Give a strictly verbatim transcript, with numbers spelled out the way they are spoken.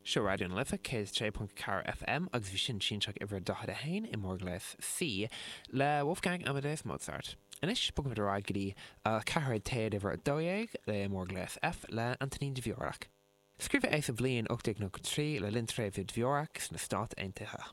Seo Raidió na Life céad sé ponc ceathair FM agus bhí sin sianseach uimhir daichead a haon i mórghléas C le Wolfgang Amadeus Mozart. Anois bogfaimid ar aghaidh go dtí ceathairéad téad uimhir a dó dhéag le mórghléas F le Antonín Dvorak. Scríobhadh é sa bhliain ocht déag nócha trí le linn tréimhse Dvorak sna Stáit Aontaithe.